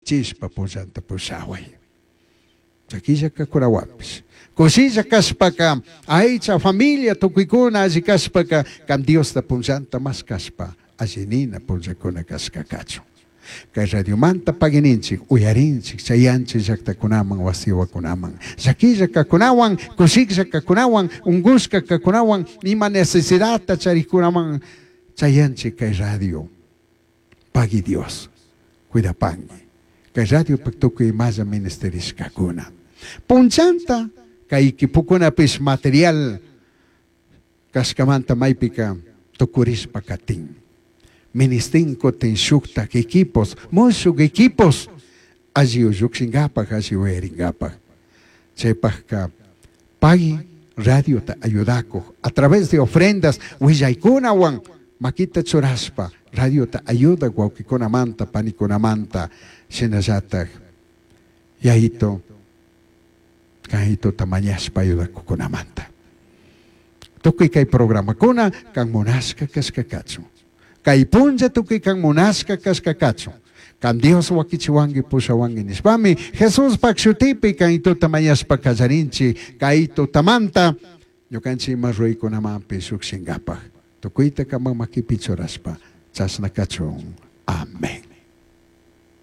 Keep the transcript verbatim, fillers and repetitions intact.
Kishpichishpa punllanta pushaway. Llaquilla kakunawanpish. Kushilla kashpaka aycha familia tukuykuna alli kashpaka kan Diosta punllanta mashkashpa alli nina punllakuna kashka kachun. Kay radiomanta pagininchik uyarinchik chayanchik llaktakunaman wasiwakunaman llaquilla kakunawan kushiklla kakunawan unkushka kakunawan ima necesidadta charikunaman chayanchik kay radio. Pagui Dios cuidapanki kay radiopak tukuy imalla ministerishkakuna. Punchanta kay equipokunapish material kashkamanta maypika tukurishpa katin. Ministin kutin shuktak equipos, mushuk equipos alli llukshinkapak alli uyarinkapak. Chaypakka pagui radiota ayudakuk a través de ofrendas willaykunawan makita churashpa radiota ayudak wawkikunamanta panikunamanta shinallatak yayito kayituta mañashpa ayudakukunamanta. Tukuy kay programakuna kan munashka kashka kachun. Kay punlla tukuy kan munashka kashka kachun. Kan Dios wakichiwanki pushawanki nishpami Jesuspak shutipi kaytuta mañashpa kallarinchik kay tutamanta ñukanchik ima ruraykunamanpish llukshinkapak. Tukuyta kaman makipi churashpa chashna kachun. Amén.